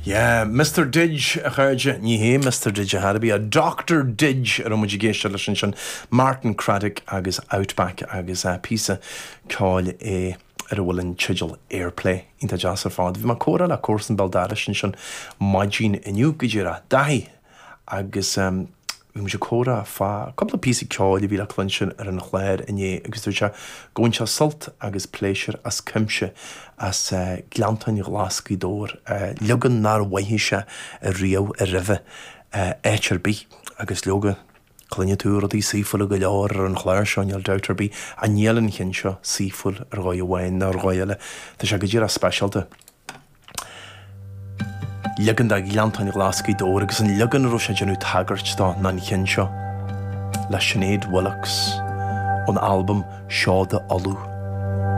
Yeah, Mister Didge, a chairde, ní hé Mister Didge ar chor ar bith, Doctor Didge a raibh muid ag éisteacht leis ansin, Martin Craddock agus Outback agus píosa ceoil é ar a bhfuil an teideal Airplay. Iontach deas ar fad. Bhí mé ag comhrá le comharsan béal dorais ansin maidin inniu, go díreach, Daithí, agus bhí muid ag comhrá fá cúpla píosa ceoil a bhí le cluinstin ar an chlár inné agus dúirt sé go bhain sé sult agus pléisiúr as cuimse as Gleanntáin Ghlas Ghaoth Dobhair, leagan nár mhoithigh sé riamh roimhe áit ar bith agus leoga cluinfidh tú rudaí saoithiúla go leor ar an chlár seo, níl dabht ar bith, ach níl an cheann seo saoithiúil ar dhóigh amháin nó ar dhóigh eile, tá sé go díreach speisialta. Leagan de Ghleanntáin Ghlas Ghaoth Dobhair agus an leagan a raibh sé ag déanamh tagairt dó ná an cheann seo le Sinéad Willox ón albam Seoda Uladh.